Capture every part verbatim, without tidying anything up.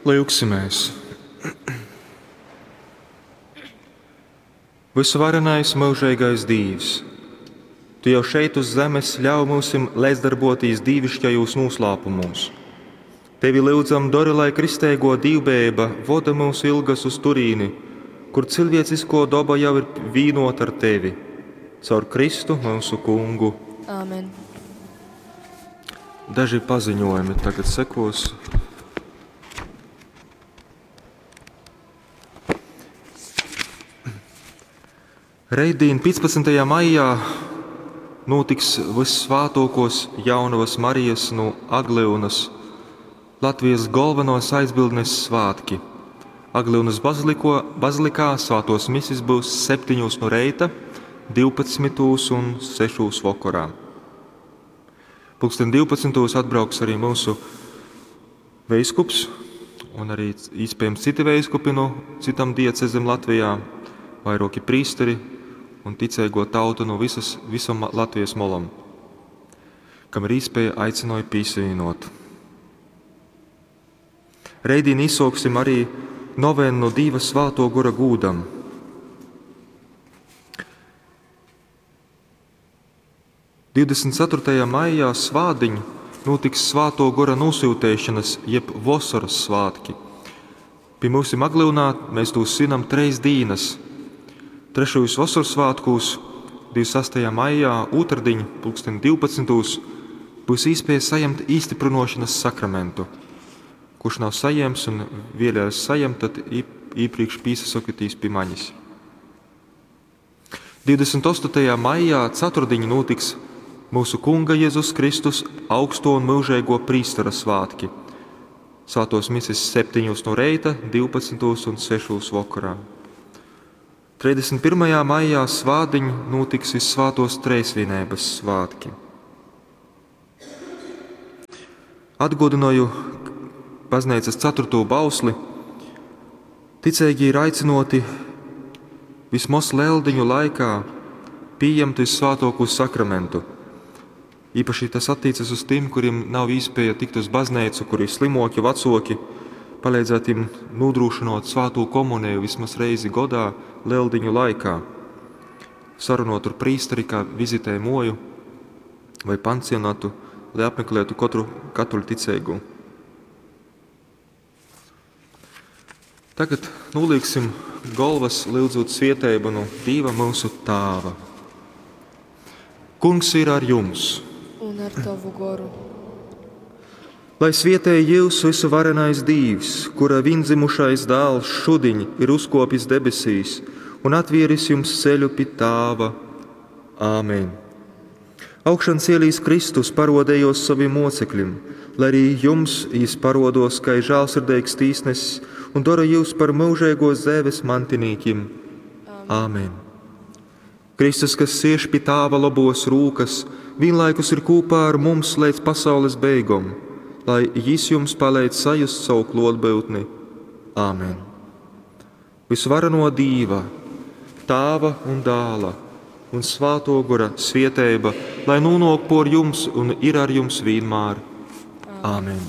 Lyugsimēs! Vysuvarenais myužeigais Dīvs, Tu jau šeit uz zemes ļauj myusim leidzdarbuotīs dīviškajūs nūslāpumūs. Tevi lyudzam, dori, lai kristeiguo dīvbejeiba voda myusu ilgas uz turīni, kur cilvieciskuo doba jau ir vīnuota ar Tevi. Caur Kristu myusu Kungu. Āmen. Daži paziņojumi tagad sekos. Reitdien, piecpadsmitajā maijā, notiks Vyssvātuokos Jaunavas Marijas no Aglyunas Latvijas galvenos aizbildnes svētki. Aglyunas baziliko, bazilikā svātos misis būs septiņos no reita, divpadsmitūs un sešūs vakarā. Pulksten divpadsmitūs atbrauks arī mūsu veiskups un arī iespējams citi veiskupi no citām diecezēm Latvijā, vairoki prīsteri un ticēgo tautu no visas, visam Latvijas molam, kam ir īspēja aicināju pīsvienot. Reidīn izsāksim arī novēnu no Dīva Svāto Gora gūdam. divdesmit ceturtajā maijā svādiņ notiks Svāto Gora nosūtēšanas jeb vasaras svētki. Pie mūsim Aglyunā mēs to svinam treis dīnas. Trešajos vasaras svētkos, divdesmit sastajā maijā, otrdiņ, pulksten divpadsmitūs, būs iespēja saņemt īstiprinošanas sakramentu. Kurš nav saņēmis un vēlējās saņemt, tad iepriekš pīsasakotīs pie manis. divdesmit astotajā maijā ceturtdiņ notiks mūsu Kunga Jēzus Kristus augsto un mūžīgo prīstera svētki. Svētos misis septiņos no reita, divpadsmitos un sešos vakarā. trīsdesmit pirmajā maijā svādiņ notiks Vissvētos Treisvienības svētki. Atgodināju baznīcas ceturto bausli. Ticīgi ir aicinoti vismaz leldiņu laikā pieņemt Vissvētāko sakramentu. Īpaši tas attiecas uz tiem, kuriem nav iespēja tikt uz baznīcu, kuri ir slimoki, vecoki, palīdzēt viņiem nodrošinot svēto komuniju vismaz reizi godā leldiņu laikā. Sarunot ar prīsteri, kā vizitē moju vai pansionatu, lai apmeklētu katru katoļu ticīgu. Tagad nolieksim galvas, lūdzot svieteibu no Dieva mūsu Tāva. Kungs ir ar jums. Un ar tavu goru. Lai svietē jūs visu varenais Dīvs, kura viendzimušais dēls šudiņ ir uzkopis debesīs un atvieris jums ceļu pie Tāva. Āmen. Augšan cielīs Kristus parodējos saviem mocekļiem, lai arī jums jis parodos, kā žēlsirdīgs tīsnesis un dara jūs par mūžīgo zēves mantinīkim. Āmen. Kristus, kas sieš pie Tāva labos rūkas, vienlaikus ir kopā ar mums līdz pasaules beigom, lai jis jums palīdz sajust savu klotbūtni. Āmen. Visvareno Dīva, Tāva un Dāla un Svāto Gora svieteiba, lai nonāk por jums un ir ar jums vienmēr. Āmen.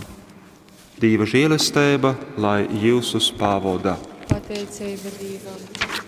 Dīva žēlestība, lai jūsus pavoda. Pateicība Dievam.